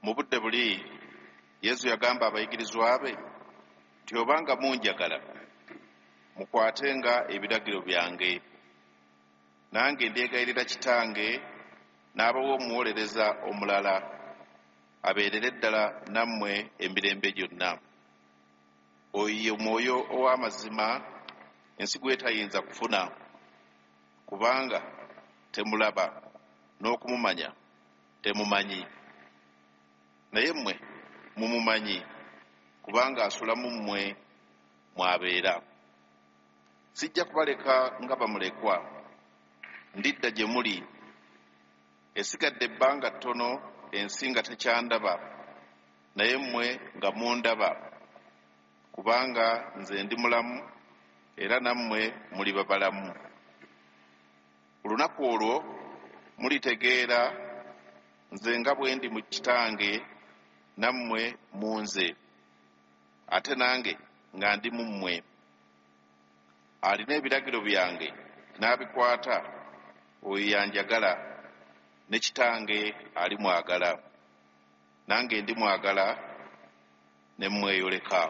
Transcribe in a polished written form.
Mu budde buli Yesu yagamba abayigirizwa be nti obanga munjagala, mukwatenga ebiragiro byange. Nange ndyegayirira Kitange, n'abawa omuwolereza omulala, abeerere ddala nammwe emirembe gyonna. Oyo ye Mwoyo ow'amazima, ensi gw'etayinza kufuna, kubanga temulaba, n'okumumanya temumanyi. Naye mmwe mumumanyi, kubanga asula mu mmwe mw'abeera. Sijja kubaleka nga bamulekwa, ndidda gye muli. Esigadde ebbanga ttono ensi nga tekyandaba, naye mmwe nga mundaba, kubanga nze ndi mulamu, era nammwe muliba balamu. Ku lunaku olwo mulitegeera nze nga bwe ndi mu Kitange, nammwe mu nze, ate nange nga ndi mu mmwe. Alina ebiragiro byange n'abikwata, oyo y'anjagala, ne Kitange alimwagala, nange ndimwagala ne mmweyoleka.